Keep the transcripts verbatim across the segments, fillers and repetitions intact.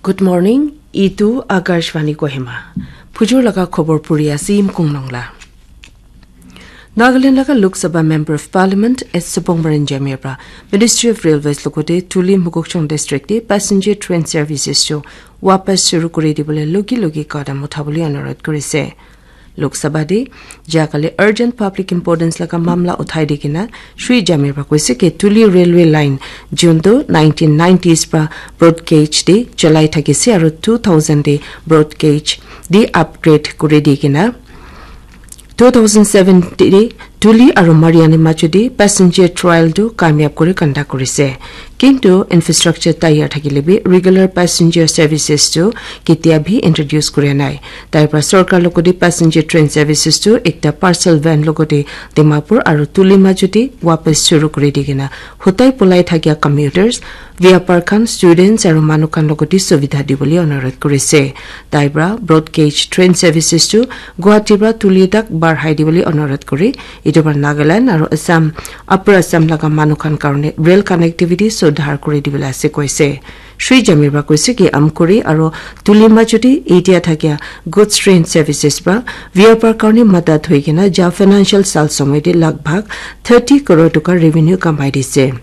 Good morning, itu Akashvani Kohima. Phujur laga khobor puri ase Yimkung Nongla. Nagaland laga Lok Sabha Member of Parliament S Subongbaran Jamir pra Ministry of Railways logote Tuli Mokokchung District te passenger train services chu wapas shuru kuri dibole logi logi kadam uthabole anurodh kurise. Lok Sabha te jakale urgent public importance laga mamla uthai di kena Shri Jamir pra koise ke Tuli railway line jun tu nineteen nineties pra broad gauge te chalai thakise aru two thousand te broad gauge te upgrade kuri di kena two thousand seven te Tuli aru Mariani majo te passenger trial tu kamyab kuri conduct kurise. Kintu infrastructure tayar thakile bi regular passenger services tu ketia bi introduce kuri nai. Tai pra sorkar logote passenger train services tu ekta parcel van logote Dimapur aru Tuli majo te wapas shuru kuri di kena hotai polai thakia commuters, vyapar khan, students aru manu khan logote subidha dibole anurodh kurise. Tai pra broad gauge train services tu Guwahati pra Tuli tak barhai dibole anurodh kuri, itu pra Nagaland aru Assam, Upper Assam laga manu khan karone rail connectivity sudhar kuri dibole ase koise. Shri Jamir pra koise ki Amkuri aru Tuli majo te etia thakia goods train services pra vyapar karone madad hoi kena ja financial sal somoy te lagbhag thirty crore toka revenue kamai dise.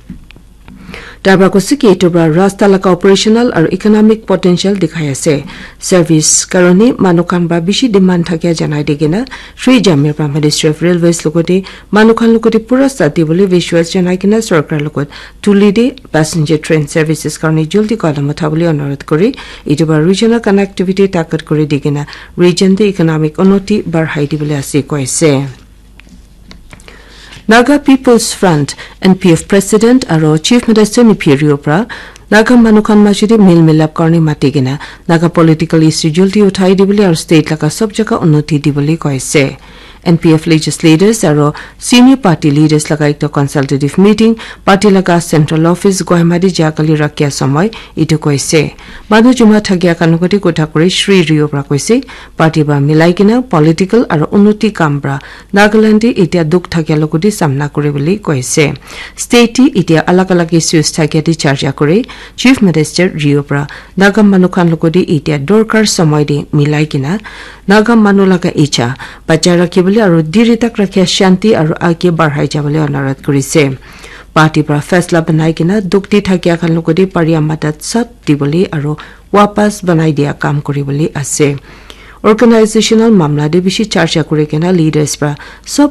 Tai pra koise ki itu pra rasta laga operational aru economic potential dikhai ase. Service karone manu khan pra bishi demand thakia janai di kena Shri Jamir pra Ministry of Railways logote manu khan logote pura sati bole visuals janai kena sorkar logot Tuli te passenger train services karone jaldi kadam uthabole anurodh kuri, itu pra regional connectivity takat kuri di kena region te economic unnoti barhai dibole ase koise. Naga People's Front, N P F President aru Chief Minister Neiphiu Rio pra Naga manu khan majo te mil milap karone mati kena Naga political issue jaldi uthai dibole aru state laga sob jaga unnoti dibole koise. N P F legislators aru senior party leaders laga ekta consultative meeting party laga central office Kohima te jakali rakhia somoy itu koise. Manu juma thakia khan logote kotha kuri Shri Rio pra koise, party pra milai kena political aru unnoti kam pra Nagaland te etia dukh thakia logote samna kuri bole koise. State te etia alag alag issues thakia te charcha kuri Chief Minister Rio pra Naga manu khan logote etia dorkar somoy te milai kena Naga manu laga icha bachai rakhi bole aru diri tak rakhia shanti aru age barhai jabole anurodh kurise. Party pra faisla banai kena dukh te thakia khan logote paria madad sab dibole aru wapas banai dia kam kuri bole ase. Organizational mamla te bishi charcha kuri kena leaders pra sob